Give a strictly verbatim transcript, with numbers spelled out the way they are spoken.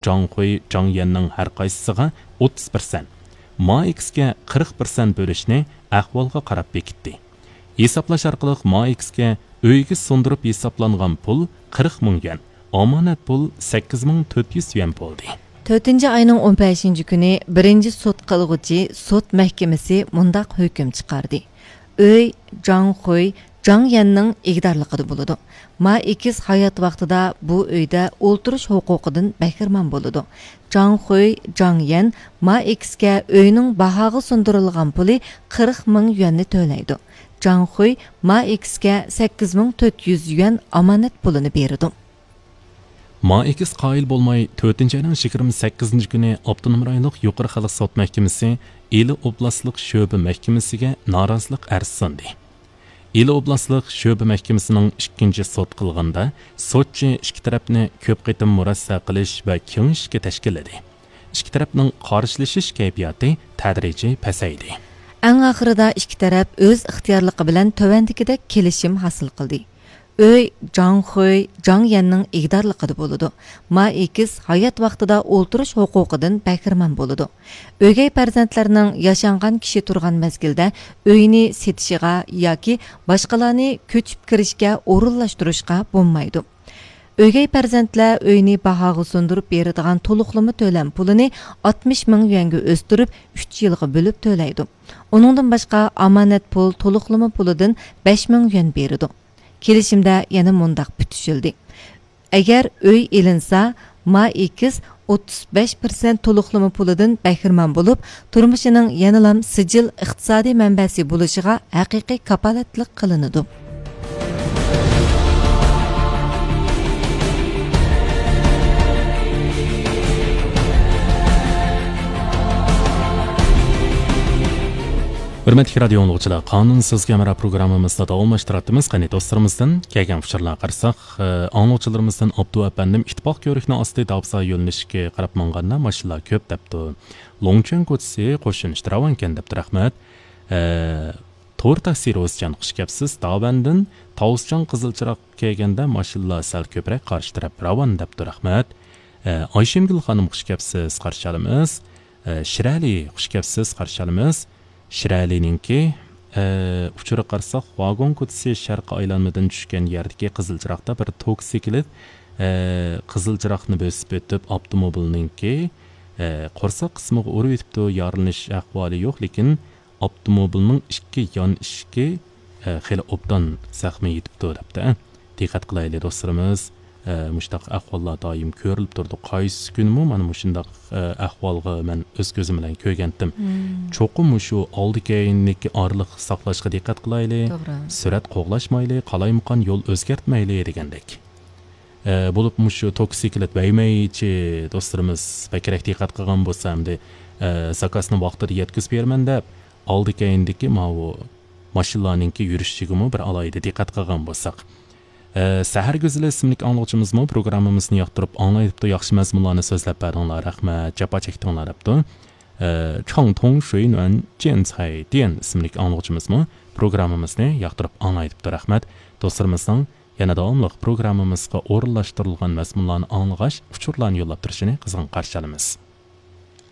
جاڭخۇي، جاڭيەننىڭ ھەر قايسىسىغا ئوتتۇز پىرسەنت، ما ئېكسكە قىرىق پىرسەنت بۆلۈشنى ئەھۋالغا قاراپ بېكىتتى. ھېسابلاش ئارقىلىق ما ئېكسكە ئۆيگە سۇندۇرۇپ ھېسابلانغان پۇل قىرىق مىڭ يۈەن، ئامانەت پۇل سەككىز مىڭ تۆت يۈز يۈەن بولدى. تۆتىنچى ئاينىڭ ئون بەشىنچى كۈنى بىرىنچى سوت قىلغۇچى سوت مەھكىمىسى مۇنداق ھۆكۈم چىقاردى: ئۆي جاڭخۇي، جاڭيەننىڭ ئىگىدارلىقىدا بولىدۇ. ما ئېكس ھايات ۋاقتىدا بۇ ئۆيدە ئولتۇرۇش ھوقۇقىدىن بەھرىمەن بولىدۇ. جاڭخۇي، جاڭيەن ما ئېكسكە ئۆينىڭ باھاغا سۇندۇرۇلغان پۇلى قىرىق مىڭ يۈەننى تۆلەيدۇ. جاڭخۇي ما ئېكسكە سەككىز مىڭ تۆت يۈز يۈەن ئامانەت پۇلىنى بېرىدۇ. ما ئېكس قايىل بولماي، تۆتىنچى ئاينىڭ يىگىرمە سەككىزىنچى كۈنى ئاپتونوم رايونلۇق يۇقىرى خەلق سوت مەھكىمىسى ئىلى ئوبلاستلىق شۆبە مەھكىمىسىگە نارازىلىق ئەرزى سۇندى. ئىلى ئوبلاستلىق شۆبە مەھكىمىسىنىڭ ئىككىنچى سوت قىلغاندا، سوتچى ئىككى تەرەپنى كۆپ قېتىم مۇرەسسە قىلىش ۋە كېڭىشىشكە تەشكىللىدى. ئىككى تەرەپنىڭ قارشىلىشىش كەيپىياتى تەدرىجىي پەسەيدى. ئەڭ ئاخىرىدا ئىككى تەرەپ ئۆز ئىختىيارلىقى بىلەن تۆۋەندىكىدەك كېلىشىم ھاسىل قىلدى. ئۆي جاڭخۇي، جاڭيەننىڭ ئىگىدارلىقىدا بولىدۇ. ما ئېكس ھايات ۋاقتىدا ئولتۇرۇش ھوقۇقىدىن بەھرىمەن بولىدۇ. ئۆگەي پەرزەنتلەرنىڭ ياشانغان كىشى تۇرغان مەزگىلدە ئۆينى سېتىشىغا ياكى باشقىلارنى كۆچۈپ كىرىشكە ئورۇنلاشتۇرۇشقا بولمايدۇ. ئۆگەي پەرزەنتلەر ئۆينى باھاغا سۇندۇرۇپ بېرىدىغان تولۇقلىما تۆلەم پۇلىنى ئاتمىش مىڭ يۈەنگە ئۆستۈرۈپ، ئۈچ يىلغا بۆلۈپ تۆلەيدۇ. ئۇنىڭدىن باشقا، ئامانەت پۇل تولۇقلىما پۇلىدىن بەش مىڭ يۈەن بېرىدۇ. كېلىشىمدە يەنە مۇنداق پۈتۈشۈلدى: ئەگەر ئۆي ئېلىنسا، ما ئېكس ئوتتۇز بەش پىرسەنت تولۇقلىما پۇلىدىن بەھرىمەن بولۇپ، تۇرمۇشىنىڭ يەنىلام سىجىل ئىقتىسادىي مەنبەسى بولۇشىغا ھەقىقىي كاپالەتلىك قىلىنىدۇ. ھۆرمەتلىك رادىيو ئاڭلىغۇچىلار، قانۇن سىزگە ھەمراھ پروگراممىمىزنى داۋاملاشتۇراتتىمىز. قېنى دوستلىرىمىزدىن كەلگەن ئۇچۇرلارغا قارىساق، ئاڭلىغۇچىلىرىمىزدىن ئابدۇ ئەپەندىم ئىتتىپاق كۆۋرۈكنىڭ ئاستى داۋزا يۆنىلىشىگە قاراپ ماڭغاندا ماشىنىلار كۆپ دەپتۇ. لوڭچۈەن كوچىسى قوشۇن ئىشتىراۋانكەن دەپتۇ، رەھمەت. ئە، تور تاكسى روزىجان، خۇش كەپسىز. داۋەندىن تاۋۇسجان قىزىل چىراغ كەلگەندە ماشىنىلار سەل كۆپرەك قارشى تەرەپ راۋان دەپتۇ، رەھمەت. ئە، ئايشەمگۈل خانىم، خۇش كەپسىز، قارشى ئالىمىز. ئە، شىرئەلى، خۇش كەپسىز، قارشى ئالىمىز. شىرئەلىنىڭكى، ئە، ئۇچۇرىغا قارىساق، ۋاگون كوچىسى شەرقىي ئايلانمىدىن چۈشكەن يەردىكى قىزىل چىراغدا بىر توكسىكلىت، ئە، قىزىل چىراغنى بۆسۈپ ئۆتۈپ، ئاپتوموبىلنىڭكى، ئە، قورساق قىسمىغا ئۇرۇۋېتىپتۇ. يارىلىنىش ئەھۋالى يوق، لېكىن ئاپتوموبىلنىڭ ئىككى يان ئىشىكى، ئە، خېلى ئوبدان زەخمى يېتىپتۇ، دەپتۇ. دىققەت قىلايلى، دوستلىرىمىز. ئە، مۇشۇنداق ئەھۋاللار دائىم كۆرۈلۈپ تۇرىدۇ. قايسى كۈنىمۇ مانا مۇشۇنداق، ئە، ئەھۋالغا مەن ئۆز كۆزۈم بىلەن كۆرگەنتىم. مم. چوقۇم مۇشۇ ئالدى كەينىدىكى ئارىلىق ساقلاشقا دىققەت قىلايلى. توغرا. سۈرئەت قوغلاشمايلى، قالايمىقان يول ئۆزگەرتمەيلى دېگەندەك. ئە، بولۇپ مۇشۇ توكسىكلىت ۋەيمەيچى دوستلىرىمىز بەكرەك دىققەت قىلغان بولسا، ئەمدى، ئە، زاكازنى ۋاقتىدا يەتكۈزۈپ بېرىمەن دەپ، ئالدى كەينىدىكى ماۋۇ ماشىنىلارنىڭكى يۈرۈشىگىمۇ بىر ئالاھىدە دىققەت قىلغان بولساق. ئە، سەھەر گۈزىلى ئىسىملىك ئاڭلىغۇچىمىزمۇ پروگراممىمىزنى ياقتۇرۇپ ئاڭلايدىپتۇ، ياخشى مەزمۇنلارنى سۆزلەپ بەردىڭلار، رەھمەت، جاپا چەكتىڭلار دەپتۇ. ئە، چاڭتۇڭ شۇينۈەن جيەنسەي دىيەن ئىسىملىك ئاڭلىغۇچىمىزمۇ پروگراممىمىزنى ياقتۇرۇپ ئاڭلايدىپتۇ، رەھمەت. دوستلىرىمىزنىڭ يەنە داۋاملىق پروگراممىمىزغا ئورۇنلاشتۇرۇلغان مەزمۇنلارنى ئاڭلىغاچ، ئۇچۇرلارنى يوللاپ تۇرۇشىنى قىزغىن قارشى ئالىمىز.